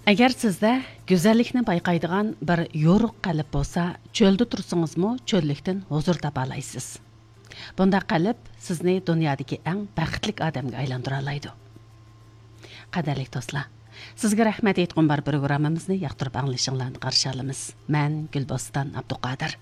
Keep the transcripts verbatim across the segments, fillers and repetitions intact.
ئەگەر سىزدە گۈزەللىكنى بايقايدىغان بىر يورۇق قەلب بولسا، چۆلدە تۇرسىڭىزمۇ چۆللۈكتىن ھۇزۇر تاپالايسىز. بۇنداق قەلب سىزنى دۇنيادىكى ئەڭ بەختلىك ئادەمگە ئايلاندۇرالايدۇ. قەدىرلىك دوستلار، سىزگە رەھمەت ئېيتقۇم بار پروگراممىمىزنى ياقتۇرۇپ ئاڭلىشىڭلارنى قارشى ئالىمىز. مەن گۈلبوستان ئابدۇقادىر.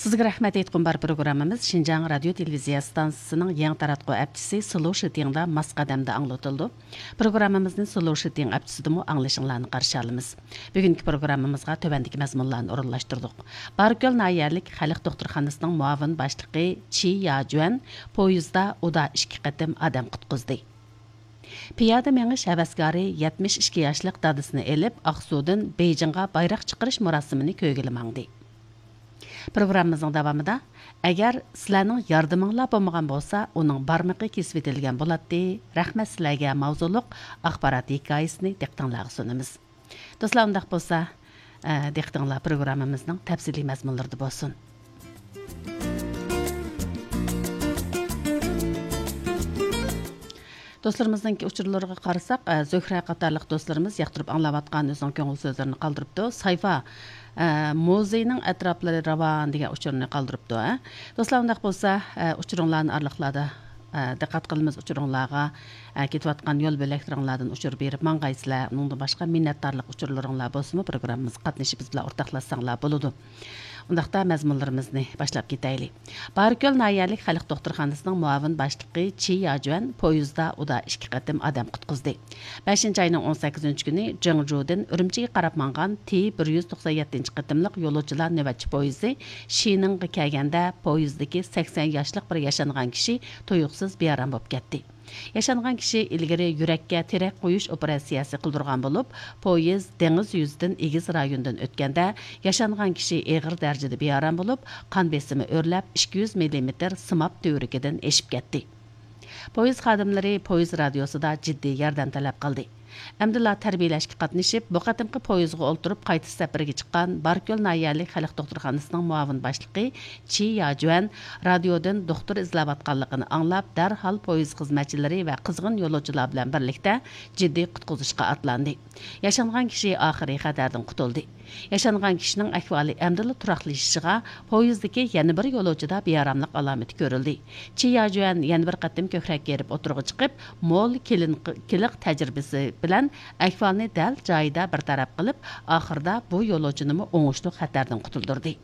سىزگە رەھمەت ئېيتقۇم بار پروگراممىمىز شىنجاڭ رادىيو تېلېۋىزىيە ئىستانسىسىنىڭ يېڭى تاراتقۇ ئەپچىسى سلو شىتىڭدا ماس قەدەمدە ئاڭلىتىلىدۇ. پروگراممىمىزنى سلو شىتىڭ ئەپچىسىدىمۇ ئاڭلىشىڭلارنى قارشى ئالىمىز. بۈگۈنكى پروگراممىمىزغا تۆۋەندىكى مەزمۇنلارنى ئورۇنلاشتۇردۇق. باركۆل ناھىيەلىك خەلق دوختۇرخانىسىنىڭ مۇئاۋىن باشلىقى چى ياجۈەن پويىزدا ئۇدا ئىككى قېتىم ئادەم قۇتقۇزدى. پىيادە مېڭىش ھەۋەسكارى يەتمىش ئىككى ياشلىق دادىسىنى ئېلىپ، ئاقسۇدىن بېيجىڭغا بايراق چىقىرىش مۇراسىمىنى كۆرگىلى ماڭدى. پروگراممىمىزنىڭ داۋامىدا، ئەگەر سىلەرنىڭ ياردىمىڭلار بولمىغان بولسا، ئۇنىڭ بارمىقى كېسىۋېتىلگەن بولاتتى، رەھمەت سىلەرگە ماۋزۇلۇق ئاخبارات ھېكايىسىنى دىققىتىڭلارغا سۇنىمىز. دوستلار، ئۇنداق بولسا، ئە، دىققىتىڭلار پروگراممىمىزنىڭ تەپسىلىي مەزمۇنلىرىدا بولسۇن. دوستلىرىمىزنىڭكى ئۇچۇرلىرىغا قارىساق، ئە، زۆھرە قاتارلىق دوستلىرىمىز ياقتۇرۇپ ئاڭلاۋاتقان ئۆزىنىڭ كۆڭۈل سۆزلىرىنى قالدۇرۇپتۇ. سايفا، ئە، مۇزېينىڭ ئەتراپلىرى راۋان دېگەن ئۇچۇرنى قالدۇرۇپتۇ، ئە. دوستلار، ئۇنداق بولسا، ئە، ئۇچۇرۇڭلارنى ئارىلىقلاردا، ئە، دىققەت قىلىمىز ئۇچۇرۇڭلارغا، ئە، كېتىۋاتقان يول بۆلەكلىرىڭلاردىن ئۇچۇر بېرىپ ماڭغايسىلەر. ئۇنىڭدىن باشقا مىننەتدارلىق ئۇچۇرلىرىڭلار بولسىمۇ، پروگراممىمىزغا قاتنىشىپ بىز بىلەن ئورتاقلاشساڭلار بولىدۇ. ئۇنداقتا مەزمۇنلىرىمىزنى باشلاپ كېتەيلى. باركۆل ناھىيەلىك خەلق دوختۇرخانىسىنىڭ مۇئاۋىن باشلىقى چى ياجۈەن پويىزدا ئۇدا ئىككى قېتىم ئادەم قۇتقۇزدى. بەشىنچى ئاينىڭ ئون سەككىزىنچى كۈنى جېڭجۇدىن ئۈرۈمچىگە قاراپ ماڭغان تى بىر يۈز توقسان يەتتىنچى قېتىملىق يولۇچىلار نۆۋەتچى پويىزى شىنىڭغا كەلگەندە، پويىزدىكى سەكسەن ياشلىق بىر ياشانغان كىشى تۇيۇقسىز بىئارام بولۇپ كەتتى. ياشانغان كىشى ئىلگىرى يۈرەككە تىرەك قويۇش ئوپېراتسىيەسى قىلدۇرغان بولۇپ، پويىز دېڭىز يۈزىدىن ئېگىز رايوندىن ئۆتكەندە، ياشانغان كىشى ئېغىر دەرىجىدە بىئارام بولۇپ، قان بېسىمى ئۆرلەپ، ئىككى يۈز مىللىمېتىر سىماب تۈۋرۈكىدىن ئېشىپ كەتتى. پويىز خادىملىرى پويىز رادىيوسىدا جىددىي ياردەم تەلەپ قىلدى. ئەمدىلا تەربىيىلەشكە قاتنىشىپ، بۇ قېتىمقى پويىزغا ئولتۇرۇپ قايتىش سەپىرىگە چىققان باركۆل ناھىيەلىك خەلق دوختۇرخانىسىنىڭ مۇئاۋىن باشلىقى چى ياجۈەن رادىيودىن دوختۇر ئىزدەۋاتقانلىقىنى ئاڭلاپ، دەرھال پويىز خىزمەتچىلىرى ۋە قىزغىن يولۇچىلار بىلەن بىرلىكتە جىددىي قۇتقۇزۇشقا ئاتلاندى. ياشانغان كىشى ئاخىرى خەتەردىن قۇتۇلدى. ياشانغان كىشىنىڭ ئەھۋالى ئەمدىلا تۇراقلىشىشىغا، پويىزدىكى يەنە بىر يولۇچىدا بىئاراملىق ئالامىتى كۆرۈلدى. چى ياجۈەن يەنە بىر قېتىم كۆكرەك كېرىپ ئوتتۇرىغا چىقىپ، مول كىلىنىكىلىق تەجرىبىسى بىلەن ئەھۋالنى دەل جايىدا بىر تەرەپ قىلىپ، ئاخىرىدا بۇ يولۇچىنىمۇ ئوڭۇشلۇق خەتەردىن قۇتۇلدۇردى.